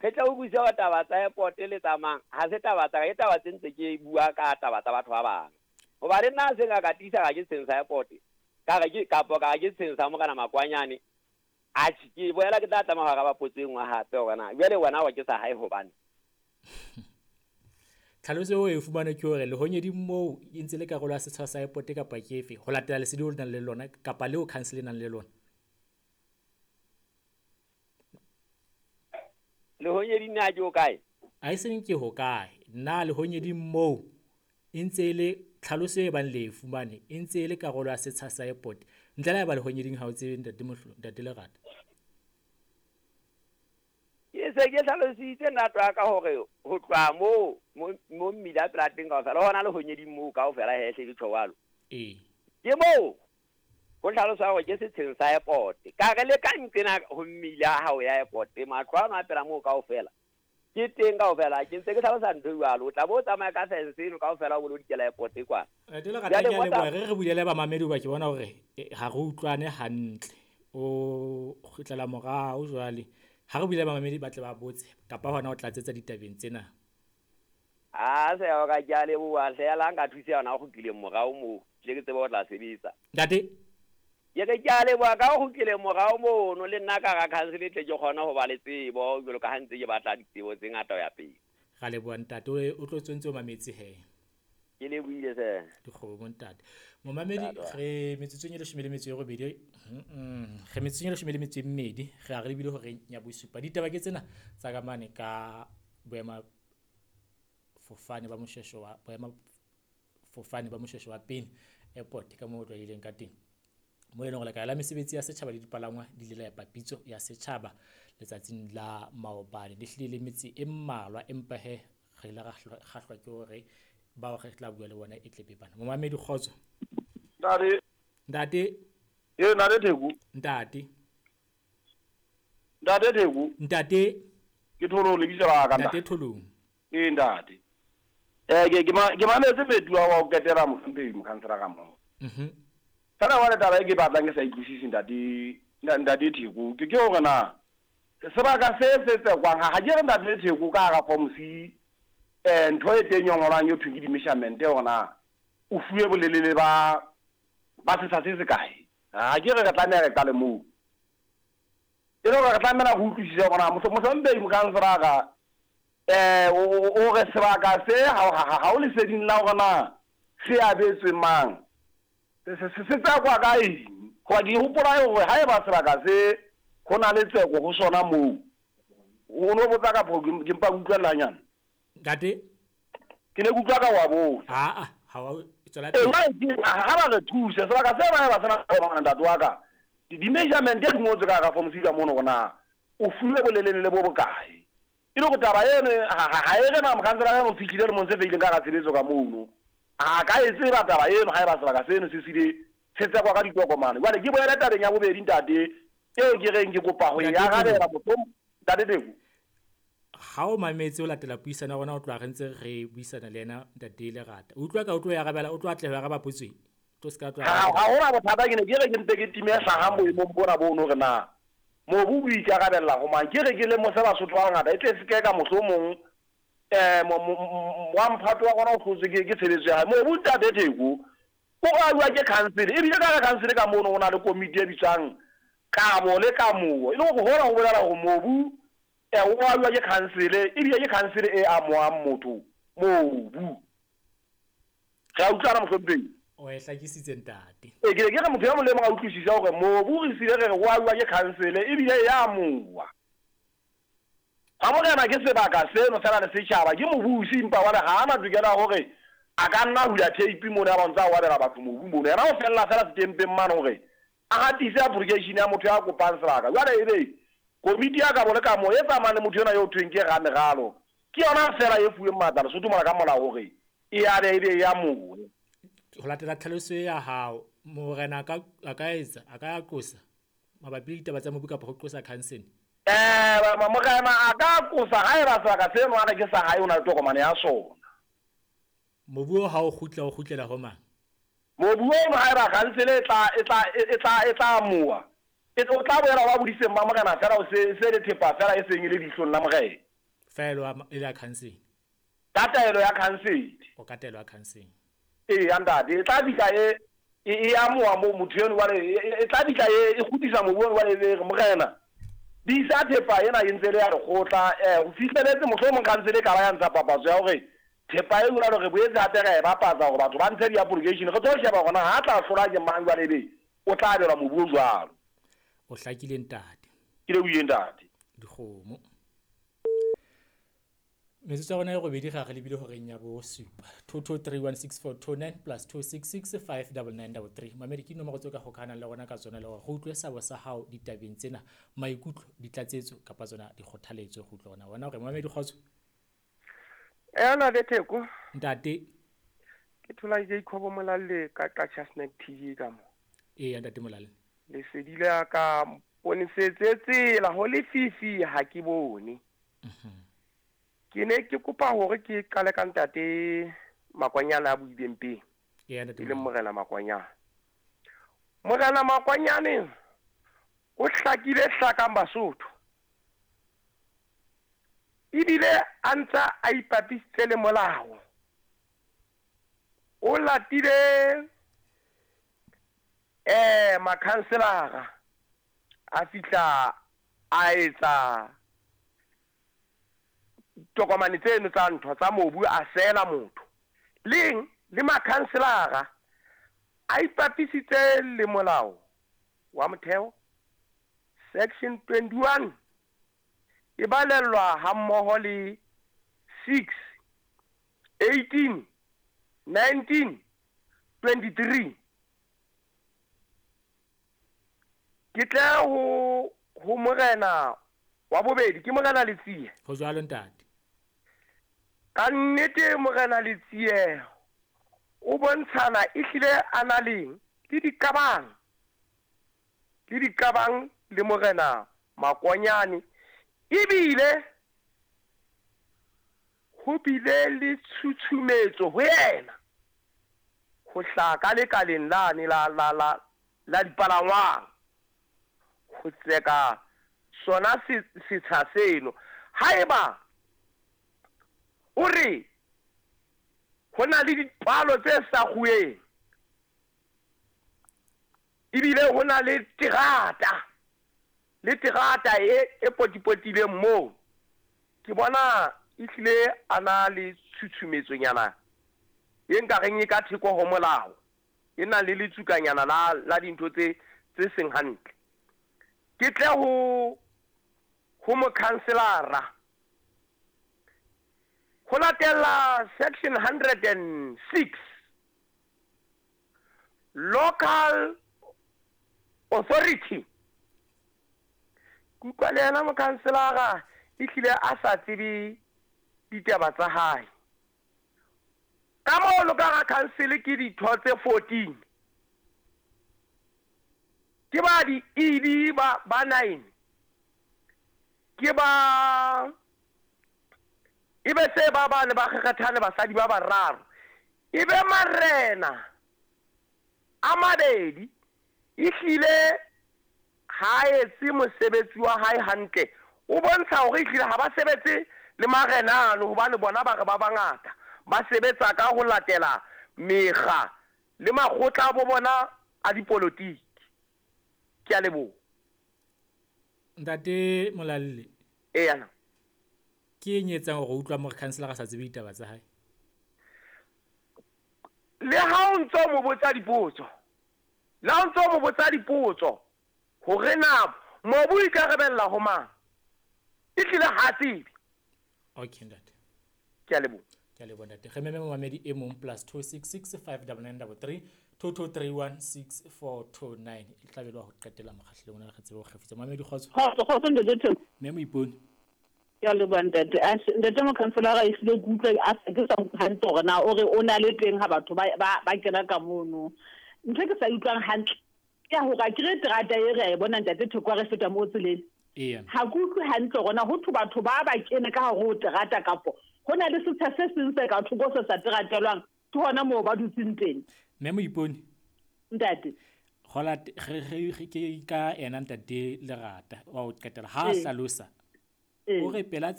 Re tla utlwisisa hore taba tsa airport le tsa mang ha se taba tsa ka, ke taba tse ntse ke bua ka taba tsa batho ba bang. Hoba le nna se nka ka tiisa ka ke setsheng sa airport, ka re ke kapo ka re ke setsheng sa Morena Makwanyane, atjhe ke boela ke tla tlameha ho araba potso e nngwe hape hore na jwale wena o re ke sa hae hobane. Tlhaloso eo e fumane ke hore lehonyeding moo e ntse le karolo ya setshwa sa airport kapa ke efe ho latela lesedi o nang le lona kapa leo council e nang le lona. Lehonyeding na ke ho kae? A e seng ke ho kae. Na lehonyeding moo e ntse e le tlhaloso e bang le e fumane e ntse e le karolo ya setsha sa airport. Ntle le haeba lehonyeding ha o tsebe ntate Mohlo, ntate Lerata. Ke se ke hlalositse ntate wa ka hore ho tloha moo mo mmila pela teng kaofela hona lehonyeding moo kaofela he hle ke tjho jwalo. Ee. Ke moo ho hlalosa hore ke setsheng sa airport. Ka re le ka nqena ho mmila ha o ya airport, matlo ano a pela moo kaofela ke teng kaofela. Ke ntse ke hlalosa ntho e jwalo. O tla bo o tsamaya ka fence eno kaofela o bo lo dikela airport kwana. Ntate Lerata, ke a leboha. Re bulele bamamedi hoba ke bona hore ha re utlwane hantle. O kgutlela morao jwale. Ha re bulele bamamedi ba tle ba botse kapa hona o tlatsetsa ditabeng tsena. A se o ka ke a leboha hle la nka thusa yona o kgutlileng morao moo. Tle ke tsebe ho tla sebetsa. Ntate. Ke re ke a leboha ka o kgutlileng morao mono le nna ka ra council tle ke kgone ho ba le tsebo jwalo ka ha ntse ke batla ditsebo tse ngata ho ya pele. Ra leboha ntate, o tlo tsontse o mametse he. Ke lebohile se. Dikgomo ntate. Momamedi re metsotsong e 18, re metsotsong e 12, re a re lebile hore ya bosupa. Ditaba ke tsena tsa ka mane ka boema fofane ba Moshweshwe wa boema fofane ba Moshweshwe wa pele airport ka moo o tlwaelehileng ka teng. Mo e leng hore lekala la mesebetsi ya setjhaba le dipalangwa di ile la epa pitso ya setjhaba letsatsing la maobane. Le hlile le metse e mmalwa empa he re ile ra kgahlwa ke hore bao re tla bua le bona e tle be bana. Momamedi kgotso. Ntate. Ntate. Ee, ntate Theko. Ntate. Ntate Theko. Ntate. Ke Tholong lebitso la ka. Ntate Tholong. Ee ntate. Ke mametse metu wa ho qetela mohlomphehi mokhansela ka moo. Fela jwale taba e ke batlang ke sa utlwisise ntate ntate Theko ke hore na sebaka se se tsekwang ha ke re ntate Theko ka hara form C ntho e teng e ngolwang e thweng ke di-measurement hore na o fuwe bolelele ba setsha se se kae. Ha ke re re tlameha re qale moo. E le hore re tlameha re utlwisise hore na mohlomphehi mokhansela ka o re sebaka se ha o leseding la hore na se abetswe mang. Se tsekwa ka eng? Hoba ke hopola hore haeba sebaka se ho na le tseko ho sona moo. O no botsa ka pho ke mpa utlwella hanyane. Ntate? Ke ne ke utlwa ka wa botsa. Ha ha wa tswela pele. Ha ba re thuse sebaka se ba ba sena go ntate wa ka. Di-measurement di ngotswe ka hara form C ka mono hore na o fuwe bolelele le bo bokae. E le hore taba eno ha e re na mokhansela o fihlile lemong se feileng ka hara tshebetso ka mono. Ha ka e tseba taba eno haeba sebaka seno se sile se tsekwa ka ditokomane. Jwale ke boele tabeng ya bobedi ntate eo ke reng ke kopa ho e arabela mohlomong ntate Theko. Ha o mametse o latela puisano ya rona o tloha re ntse re buisana le yena ntate Lerata. O utlwa ka o tlo e arabela o tlo atleha ho araba potso e. Tlo se ka tlo Ha hona bothata ke ne ke re ke mpe ke time hlahang boemong bona bono hore na mobu o ikarabella ho mang. Ke re ke lemose Basotho ba bangata e tle se ke ka mohlomong wa mphato wa rona o hlotswe ke tshebetso ya hae. Mobu ntate Theko o abuwa ke council, ebile ka council ka mono ho na le komiti e bitswang kabo le kamoho. E le hore hona ho bolela hore mobu o abuwa ke council, ebile ke council e amohang motho mobu. Re a utlwana mohlomphehi? O e hlakisitse ntate. Ke ne ke re motho ya molemo a utlwisisa hore mobu re sile re re o abuwa ke council ebile e amoha. Ha morena ke sebaka seno fela le setjhaba ke mobusi empa wa ha ana tokelo ya hore a ka nna hula tape mona ya ba ntsa wa abela batho mobu mona. Yena o fella fela setempeng mane hore a hatise application ya motho ya kopang sebaka. Jwale ebe komiti ya kabo le kamo e tsamayang le motho ena yo thweng ke rameralo ke yona fela e fuweng matla Lesotho mona ka molao hore e abe ebe e amohe. Ho latela tlhaloso ya hao morena a ka etsa a ka qosa mabapi le ditaba tsa mobu kapa ho qosa council. Morena a ka qosa haeba sebaka seno a re ke sa hae o na le tokomane ya sona. Mobu ha o kgutla o kgutlela ho mang? Mobu ono haeba council e tla amoha. E o tla boela wa bodiseng ba morena fela o se le thepa fela e seng e le dihlong la morena. Fela e la council. Ka taelo ya council. O ka taelo ya council. Ee ntate, e tla fihla e amoha mo motho eno jwale, e tla fihla e kgutlisa mobu ono jwale e re morena bisa thepa ena e ntse le ya lekgotla. Ho fihleletse mohlomong council e ka ba ya ntsha papatso ya hore thepa e jwalo re boetse hape ra e bapatsa hore batho ba ntshe di-application. Re tlo sheba hore na ha tla hlola ke mang jwale ebe o tla abelwa mobu o jwalo. O hlakile ntate. Ke lebohile ntate. Dikgomo. Metsotso ya rona e robedi ga re lebile horeng ya bosupa. 22316429 plus 266599933. Mamedi ke dinomoro tseo ka hokahanang le rona ka tsona le hore re utlwe sabo sa hao ditabeng tsena, maikutlo, ditlatsetso kapa tsona dikgothaletso go utlwa rona. Wena hore mamedi kgotso. Ena le Theko. Ntate. Ke thola Jacob Molalle ka Qacha Snack TV ka mo. Ee ntate Molalle. Lesedi la ka ponesetse tsela ho lefifi ha ke bone. Ke ne ke kopa hore ke qale ka ntate Makwanyane a buileng pele. Ee ntate. E leng Morena Makwanyane. Morena Makwanyane o hlakile hlakang Basotho. Ebile a ntsa a ipapisitse le molao. O latile makhanselara a fihla a etsa tokomane tseno tsa ntho tsa mobu a sela motho. Leng le makhanselara a ipapisitse le molao wa motheo section 21 e balellwa ha mmoho le 6 18 19 23. Ke tle ho morena wa bobedi, ke Morena Letsie. Ho jwalo ntate. Ka nnete Morena Letsie o bontshana ehlile a na leng le diqabang le Morena Makwanyane. Ebile ho bile le tshutshumetso ho yena ho hlaha ka lekaleng lane la la la la dipalangwang ho tseka sona setsha seno. Haeba o re ho na le dipalo tse sa kguweng ebile ho na le terata e potipotileng moo, ke bona ehlile a na le tshutshumetsonyana e nkareng e ka theko ho molao, e nang le letsukanyana la dintho tse seng hantle. Ke tle ho mokhanselara ho latela section 106 local authority. Kutlwa le yena mokhanselara ehlile a sa tsebe ditaba tsa hae. Ka moo ka ga council ke ditho tse 14, ke ba di ED ba 9, ke ba ebe se ba bane ba kgethane basadi ba bararo, ebe marena a mabedi ehlile ha etse mosebetsi wa hae hantle. O bontsha hore ehlile ha ba sebetse le marena ano, hobane bona ba re ba bangata ba sebetsa ka ho latela mekga le makgotla a bo bona a dipolotiki. Ke a leboha. Ntate Molalle. Ee ana. Ke eng e etsang hore o utlwa more councilor a sa tsebe ditaba tsa hae? Le ha o ntso mo botsa dipotso, le ha o ntso mo botsa dipotso hore na mobu o ikarabella ho mang, ehlile ha tsebe. Okay ntate. Ke a leboha. Ke a leboha ntate. Re meme momamedi e mong plus 266 59933 22316429. E tla be le wa ho qetela mokgahlelong ona, re tsebe ho kgefutsa. Mamedi kgotso. Kgotso ntate Theko. Mme Moipone. Ke a leboha ntate. Ntate mokhanselara ehlile ke utlwa ke sa utlwe hantle hore na o re o na le teng ha batho ba kena ka mono. Ntho e ke sa utlwang hantle ke ya hore akere terata e re a e bona ntate Theko ha re feta moo tseleng. Ee. Ha ke utlwe hantle hore na ho thwe batho ba kene ka hare ho terata kapo ho na le setsha se seng se ka thoko se sa teratelwang, ke hona moo ba dutseng teng. Mme Moipone. Ntate. Hola re ke ka ena ntate Lerata wa ho qetela ha a hlalosa. O re pela